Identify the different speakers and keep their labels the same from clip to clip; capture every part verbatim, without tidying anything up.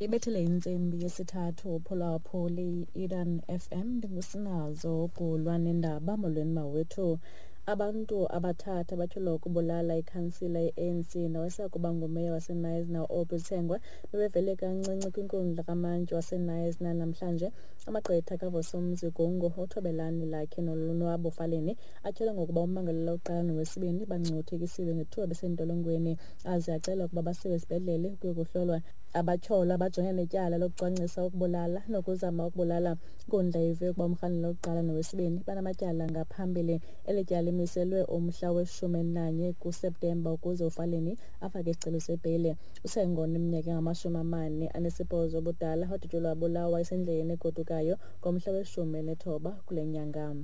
Speaker 1: Ibethile intsimbi yesithathu uphulaphuli Eden F M, ndingusinazo Gulwa nendaba. Molweni mawethu. Abantu abathathu abatyholwa ukubulala ikhansila ye-A N C nowayesakuba ngumeya waseKnysna u-Aubrey Tsengwa bebevele kancinci kwinkundla kamantyi waseKnysna namhlanje. Amagqwetha kaVusumuzi Gungu, uThobelani Lakhe noLonwabo Faleni atyholwa ngokuba ummangalelwa wokuqala nowesibini bangcuthekisiwe ngethuba besentolongweni, aze acela ukuba basiwe esibhedlele ukuyokuhlolwa. Abatyholwa bajongene netyala lokucwangcisa ukubulala nokuzama ukubulala. Inkundla ive ukuba umrhanelwa wokuqala nowesibini banamatyala ngaphambili. Eli tyala limiselwe umhla weshumi elinanye kuSeptemba ukuze uFaleni afake isicelo sebheyile. UTsengwa oneminyaka engamashumi amane anesibhozo ubudala wadutyulwa wabulawa esendleleni egodukayo ngomhla weshumi elinethoba kule nyanga.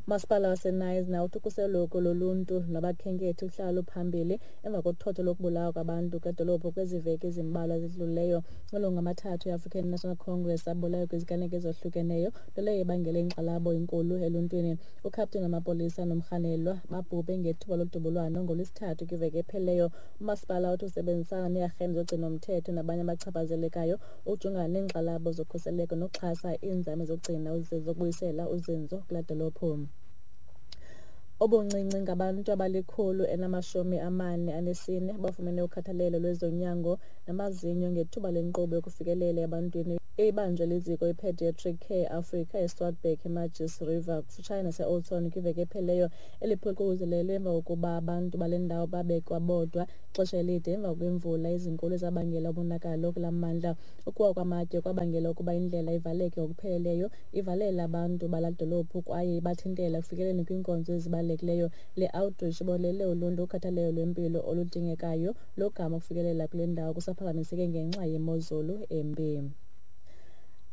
Speaker 1: Umasipala waseKnysna uthi ukhuseleko loluntu nabakhenkethi luhlala luphambili emva kothotho lokubulawa kwabantu kwedolophu kwezi veki zimbalwa zidlulileyo. Amalungu amathathu e-African National Congress abulawe kwiziganeko ezohlukeneyo, nto leyo ebangele inkxalabo enkulu eluntwini. Ukhapteni wamapolisa nomrhanelwa babhubhe ngethuba lodubulwano ngoLwesithathu kwiveki ephelileyo. Umasipala uthi usebenzisana neearhente zogcinomthetho nabanye abachaphazelekayo ukujongana neenkxalabo zokhuseleko nokuxhasa iinzame zokugcina zokubuyisela uzinzo kulaa dolophu. Ubuncinci ngabantu abalikhulu elinamashumi amane anesine abafumene ukhathalelo lwezonyango namazinyo ngethuba lenkqubo yokufikelela ebantwini ebibanjwe liziko iPediatric Care Africa eSwartberg, eMargis River, kufutshane nase-Oudtshoorn kwiveki ephelileyo. Eli phulo liququzelelwe emva kokuba abantu bale ndawo babekwa bodwa ixesha elide emva kweemvula ezinkulu ezabangela umonakalo kulaa mmandla. Ukuwa kwamatye kwabangela ukuba indlela ivaleke ngokupheleleyo, ivalela abantu balaa dolophu kwaye ibathintela ekufikeleleni kwiinkonzo ezibalulekileyo. Le outreach ibonelele uluntu ukhathalelo lwempilo oludingekayo, logama ukufikelela kule ndawo kusaphazamiseke ngenxa yemozulu embi.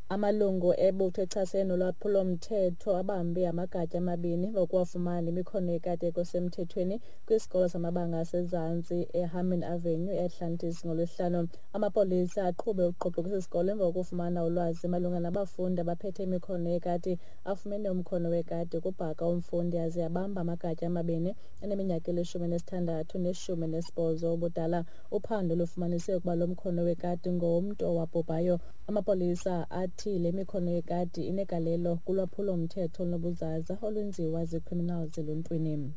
Speaker 1: Amalungu ebutho echasene nolwaphulomthetho abambe amagatya amabini ngokuwafumana nemikhono yekati ekho semthethweni kwisikolo samabanga asezantsi eHarmon Avenue eAtlantis ngoLwesihlanu. Amapolisa aqhube ugqogqo kwesi sikolo emva kokufumana ulwazi malunga nabafundi abaphethe imikhono yekati. Afumene umkhono wekati kubhaka umfundi aze abamba amagatya amabini aneminyaka elishumi elinesithandathu neshumi elinesibhozo ubudala. Uphando lufumanise ukuba lo mkhono wekati ngowomntu owabhubhayo. Amapolisa athi le mikhono yekati inegalelo kulwaphulomthetho olunobuzaza olwenziwa ziicriminals eluntwini.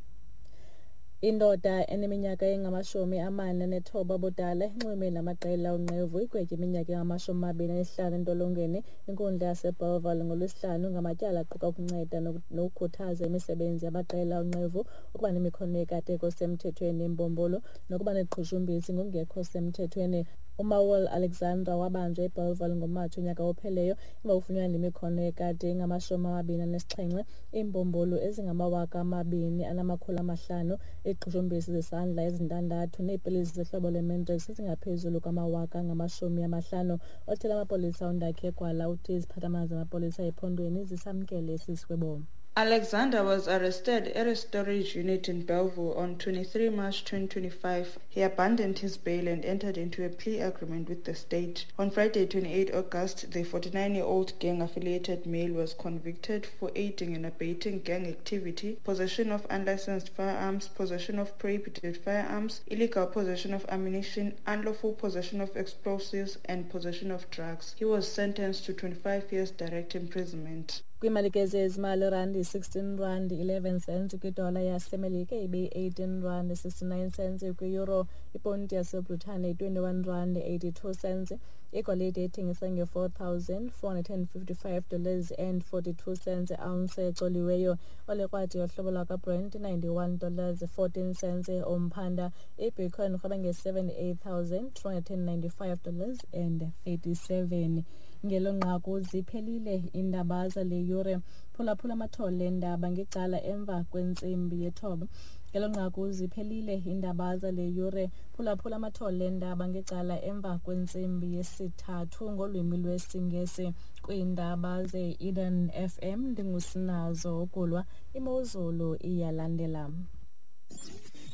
Speaker 1: Indoda eneminyaka engamashumi amane anethoba ubudala inxulumene namaqela onqevu igwetywe iminyaka engamashumi amabini anesihlanu entolongweni inkundla yaseBellville ngoLwesihlanu ngamatyala aquka ukunceda nokukhuthaza imisebenzi yamaqela onqevu, ukuba nemikhono yekati engekho semthethweni embumbulu nokuba neqhushumbisi ngokungekho semthethweni. UManuel Alexandra wabanjwa eBellville ngoMatshi unyaka ophelileyo emva kokufunyanwa nemikhono yekati engamashumi amabini anesixhenxe, iimbumbulu ezingamawaka amabini anamakhulu amahlanu, iziqhushumbisi zesandla ezintandathu neepilisi zohlobo lweMandrax ezingaphezulu kwamawaka angamashumi amahlanu. Othethela amapolisa uNdakhe Gwala uthi iziphathamandla zamapolisa ephondweni zisamkele esi sigwebo.
Speaker 2: Alexander was arrested at a storage unit in Bellville on twenty-three March twenty twenty-five. He abandoned his bail and entered into a plea agreement with the state. On Friday, twenty-eight August, the forty-nine-year-old gang-affiliated male was convicted for aiding and abetting gang activity, possession of unlicensed firearms, possession of prohibited firearms, illegal possession of ammunition, unlawful possession of explosives, and possession of drugs. He was sentenced to twenty-five years direct imprisonment.
Speaker 1: Kwiimalike zezimali, irandi sixteen rand eleven cents kwidola yaseMelika, ibe eighteen rand sixty-nine cents kwi-euro, iponti yaseBritane twenty-one rand eighty-two cents. Igolide ithengisa nge-four thousand four hundred and fifty-five dollars and forty-two cents ounce ecoliweyo. Olekrwada yohlobo lwakwaBrent ninety-one dollars fourteen cents umphanda. Ibitcoin irhweba nge-seventy-eight thousand two hundred and ninety-five dollars and thirty-seven. Ngelo nqaku ziphelile iindaba zale yure. Phulaphula amathole eendaba ngecala emva kwentsimbi yethoba. Ngelo nqaku ziphelile iindaba zale yure. Phulaphula amathole eendaba ngecala emva kwentsimbi yesithathu ngolwimi lwesiNgesi kwiindaba ze-Eden F M. Ndingusinazo Ukulwa. Imozulu iyalandela.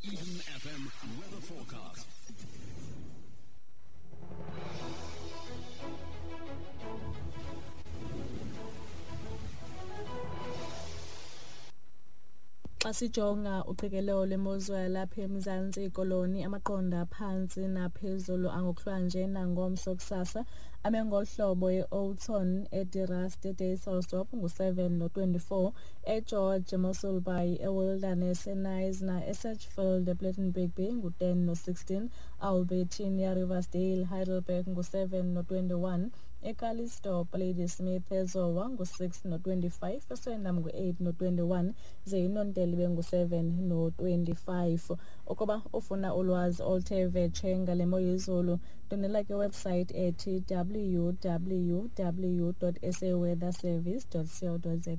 Speaker 3: Eden F M weather forecast.
Speaker 1: Xa Xa sijonga uqikelelo lwemozulu yalapha eMzantsi Koloni, amaqondo aphantsi naphezulu angokuhlwanje nangomso kusasa ame ngolu hlobo: e-Oudtshoorn, eDe Rust, eDysselsdorp ngu-seven no-twenty-four, eGeorge, eMossel Bay, eWilderness, eKnysna, eSedgefield, ePlettenberg Bay ngu-ten no-sixteen, Albertinia, Riversdale, Heidelberg ngu-seven no-twenty-one, eCalitzdorp, Ladysmith, eZowa ngu-six no-twenty-five, eSwellendam ngu-eight no-twenty-one, ze iNontele ibe ngu-seven no-twenty-five. Ukuba ufuna ulwazi oluthe vetshe ngale mo yezulu, ndwendwela kwiwebsite ethi w w w dot s a weather service dot co dot za.